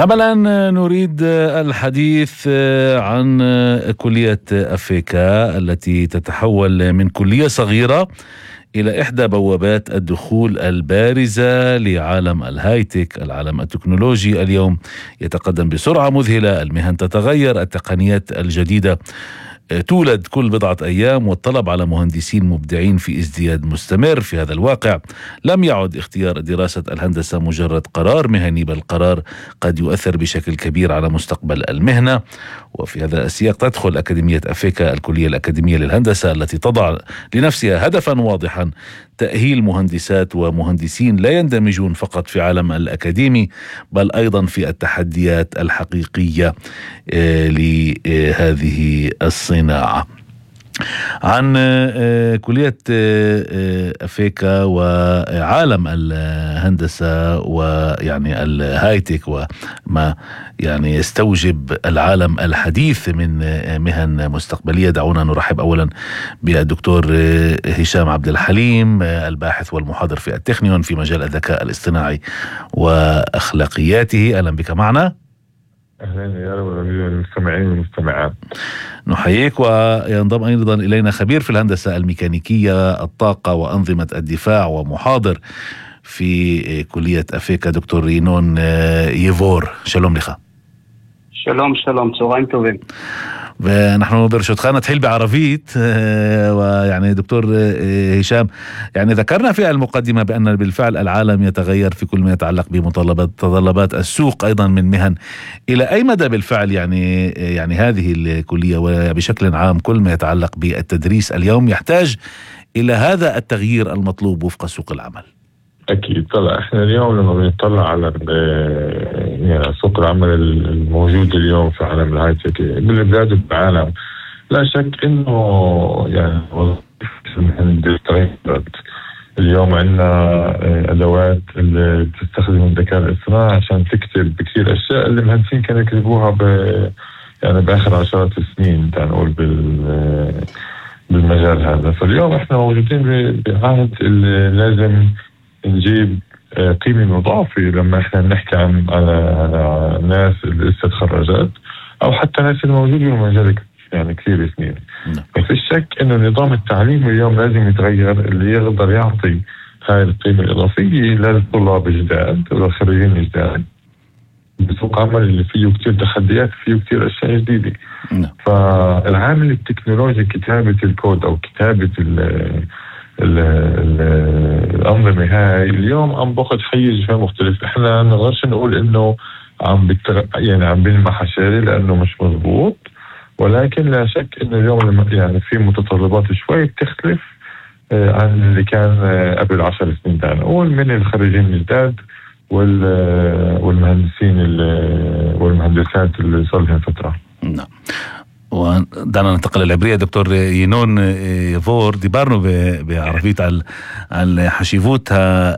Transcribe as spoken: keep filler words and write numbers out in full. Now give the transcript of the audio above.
أملا نريد الحديث عن كلية أفيكا التي تتحول من كلية صغيرة إلى إحدى بوابات الدخول البارزة لعالم الهايتك، العالم التكنولوجي. اليوم يتقدم بسرعة مذهلة، المهن تتغير، التقنيات الجديدة تولد كل بضعة أيام، والطلب على مهندسين مبدعين في ازدياد مستمر. في هذا الواقع لم يعد اختيار دراسة الهندسة مجرد قرار مهني، بل قرار قد يؤثر بشكل كبير على مستقبل المهنة. وفي هذا السياق تدخل أكاديمية أفيكا، الكلية الأكاديمية للهندسة، التي تضع لنفسها هدفا واضحا: تأهيل مهندسات ومهندسين لا يندمجون فقط في عالم الأكاديمي، بل أيضا في التحديات الحقيقية لهذه الصناعة. عن كلية أفيكا وعالم الهندسة ويعني الهايتك وما يعني يستوجب العالم الحديث من مهن مستقبلية، دعونا نرحب أولا بالدكتور هشام عبد الحليم، الباحث والمحاضر في التكنيون في مجال الذكاء الاصطناعي وأخلاقياته. أهلا بك معنا. أهلا يا رب المستمعين والمستمعات، نحييك. وينضم أيضا إلينا خبير في الهندسة الميكانيكية، الطاقة وأنظمة الدفاع، ومحاضر في كلية أفيكا، دكتور ينون يفور. شلوم لك. שלום, שלום, צהריים טובים. ونحن برشدخان نتحيل بعربيت. ويعني دكتور هشام، يعني ذكرنا في المقدمة بأن بالفعل العالم يتغير في كل ما يتعلق بمتطلبات تطلبات السوق أيضا من مهن. إلى أي مدى بالفعل يعني يعني هذه الكلية وبشكل عام كل ما يتعلق بالتدريس اليوم يحتاج إلى هذا التغيير المطلوب وفق سوق العمل؟ أكيد. طبعا إحنا اليوم لما بنطلع على يعني سوق العمل الموجود اليوم في عالم الهايتك بالبلاد وبالعالم، لا شك إنه يعني وظيفة تغيرت. اليوم عندنا أدوات اللي بتستخدم الذكاء الاصطناعي عشان تكتب بكثير أشياء اللي المهندسين كانوا يكتبوها ب يعني بآخر عشرات السنين تنقول بال بالمجال هذا. فاليوم إحنا موجودين بعهد اللي لازم نجيب قيمة مضافة لما احنا بنحكي عن على ناس اللي لسه تخرجت او حتى ناس الموجودين بالمجال يعني كثير سنين. ما فيش شك انه نظام التعليم اليوم لازم يتغير، اللي يقدر يعطي هاي القيمة الإضافية للطلاب الجداد والخريجين الجداد بسوق عمل اللي فيه كتير تحديات، فيه كتير أشياء جديدة. فالعامل التكنولوجي، كتابة الكود أو كتابة ال الأنظمة هاي اليوم عم باخد حيز مختلف. احنا نقدرش نقول انه عم بتر... يعني عم بنمح شاري لانه مش مضبوط، ولكن لا شك انه اليوم يعني في متطلبات شوي بتختلف عن اللي كان قبل عشر سنين. ده نقول من الخريجين الجداد وال... والمهندسين ال... والمهندسات اللي صار لهم فترة. نعم. ودعنا ننتقل للعبرية. دكتور ينون يفور، ديبارنو بعربيت على حشيفوتها